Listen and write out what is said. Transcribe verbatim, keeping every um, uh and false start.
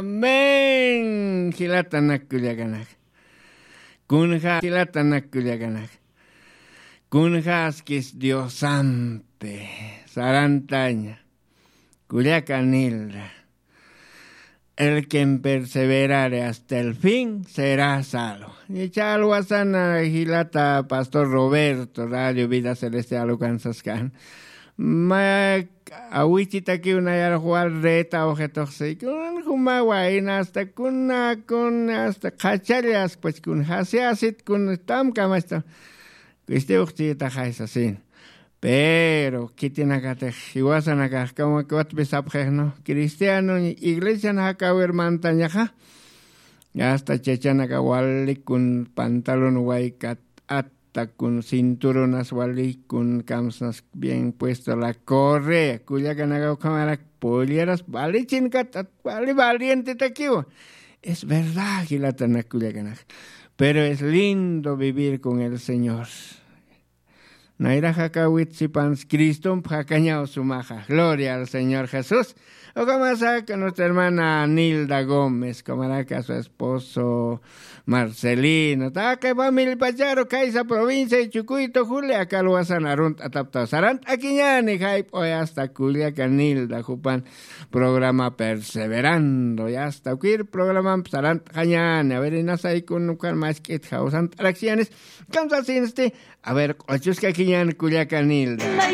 Amén. Jilatanak kullakanaka, kunja jilatanak kullakanaka, kunjaskis Diosampi sarantaña. Kullaka Nilda, el quien perseverare hasta el fin será salvo. Icha alwasana jilata pastor Roberto, Radio Vida Celestial ukansaskan. Ma awichitakiw nayarux wal reta ujituxsi kun juma wayna hasta kuna kun hasta qhachallas pues kun jasiasit kun tamkamasta. Kuistiwxchitaxay sasin. Pero khitinakatix jiwasanakax kamakiwatpi sapxixnu cristiano iglesian jakawir mantañaxa. Hasta chachanaka wali kun pantalon waykat atta kun cinturonas wali kun kamsnas bien puesto la correa kullakanaka ukhamarak polleras valichinkat at wali valientetakiwa. Es verdad jilatanak kullakanaka, pero es lindo vivir con el señor. Nayraxakawit sipans cristomp jakañaw sumaxa gloria al señor jesús. Ukamasaka nuestra hermana Nilda Gómez kamaraka su esposo Marcelino taqi familipacharu kaysa provincia y chukuytu julia kalwasan arunt'ataptaw sarant'akiñani jayp'oy hasta kullaka Nilda jupan programa perseverando y hasta ukir programamp sarant'añani a ver inasaykun ukan mask'it jawsant'araksiñanis. Kamsasinsti a ver q'ochuskakiñan kullaka Nilda.